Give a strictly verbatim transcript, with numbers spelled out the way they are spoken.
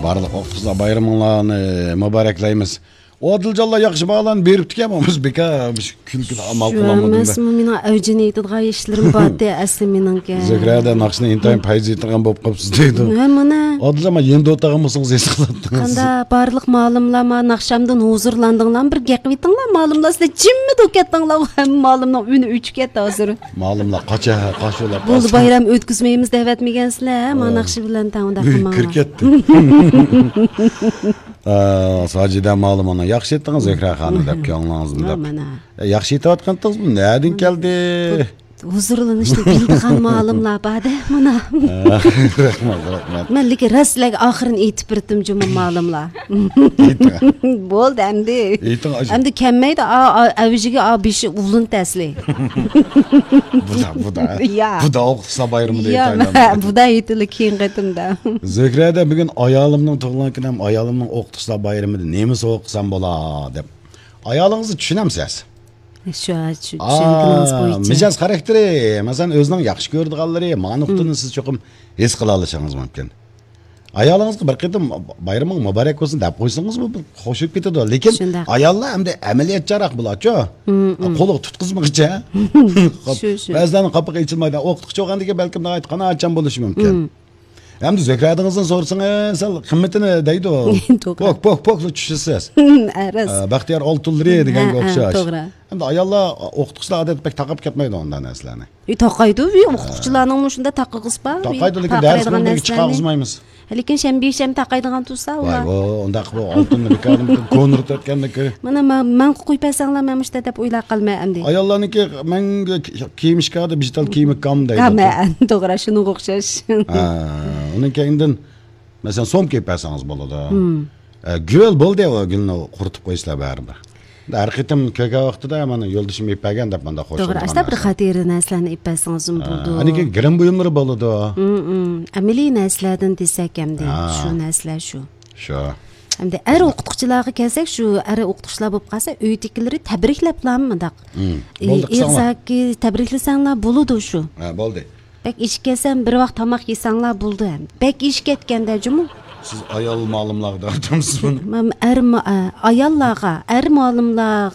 Барлык окуучулар байрамыңларны мубараклайбыз. Одилжалла жакшы баалан бериптик эми бека күлкү амал кыламадым. Эмес, менин аужун айтылган ишлерим бар де асли менинке. Зөкрәдә накшыны интайм пайыз айтылган болуп калыпсыз дейди. Мына. Одилжама енді отаган болсоңуз эс кылаттыңыз. Канда барлык маалымлама накшамдан хузурландыңлар, бир геп кыйтыңлар, маалымласыздар жимми докеттиңлар, һәм маалымның үні үчүп кетти азыр. Маалымлар кача кашылап. Бул байрам өткүзмөйбүз деп этмегенсизлер, ма накшы менен таңда кылмаңар. Киркетти. А, сажида маалыманы жакшы айттыңыз Зөкрә ханым деп көңүлүңүздү деп. Жакшы айтып аткансызбы? Нәдин келди? Huzurlanışta bildiğin malımlar bade mına. Rahmat, rahmat. Men leki raslak ahirin etip birdim cuma malımlar. Boldu emdi. Emdi kemmeydi avjiga a beşi ulun tesli. Bu da, bu da. Bu da okusa bayramı deyip aylandı. Bu da etili keyin qaytımda. Zökrədə bugün ayalımның tuğulan günəm, ayalımның okusa bayramı deyip nemiz okusam bola deyip. Ayalınızı düşünemsiz. Şu düşüngünüz boyunca. Mijaz karakteri, mesela özünün yaxşı gördüğalları, manuqtunu siz çokum es kıla alışanız mümkün. Ayalınızga bir qitim bayramın mübarek olsun dep koysanız mı hoşup ketedi. Lekin ayallar hem de ameliyat jarak bulaçı. Qolu tutkuzmakça. Bazılarının kapığı içilmeydi. Oktukça oğandaki belki de aytqana açan buluşu mümkün. Hem de Zökrədinizin sorsan, sal kıymetini deydi o. Pok pok pok düşürsüz. Baxtiyar oltulları degan okşaş. Hem de ayallar okutukçular adet pek takıp ketmeydi ondan neslerini. Takaydı, okutukçularının uşunda takıqız ba. Takaydı, lekin ders kılındaki çıkağızmayımız. Lekin şem beşem takaydıgan tursa ular. Vay, onda oltunlu rikadım konurt etkendeki. Mana men qo'yib bersanlar işte deb o'ylab qolmay endi. Ayollarniki men kiyimishkada digital kiyimik kam deydi. Ha, to'g'ri, shunga o'xshash. Ha, uning keyindan mesela som kiyib bersangiz bo'ladi. Gül bo'ldi o gulni quritib qo'yishlar baribir. Har qitim ko'ka vaqtida mana yo'ldishim ippagan deb menda xo'sh. To'g'ri, asta bir xatiri narsalarni ippasangiz bo'ldi. Aniki girim buyumlari bo'ladi. Amaliy narsalardan desak hamda shu narsalar shu. Shu. Hamda er o'qituvchilarga kelsak, shu er o'qituvchilar bo'lib qolsa, uydagilarni tabriklablarmi mundaq. Erzaki tabriklasanglar bo'ladi shu. Ha, bo'ldi. Bek ish kelsam bir vaqt tomoq yesanglar bo'ldi ham. Bek ish ketganda jumu. Siz ayol ma'lumlarga aytamsiz buni? Men er ayollarga, er ma'lumlar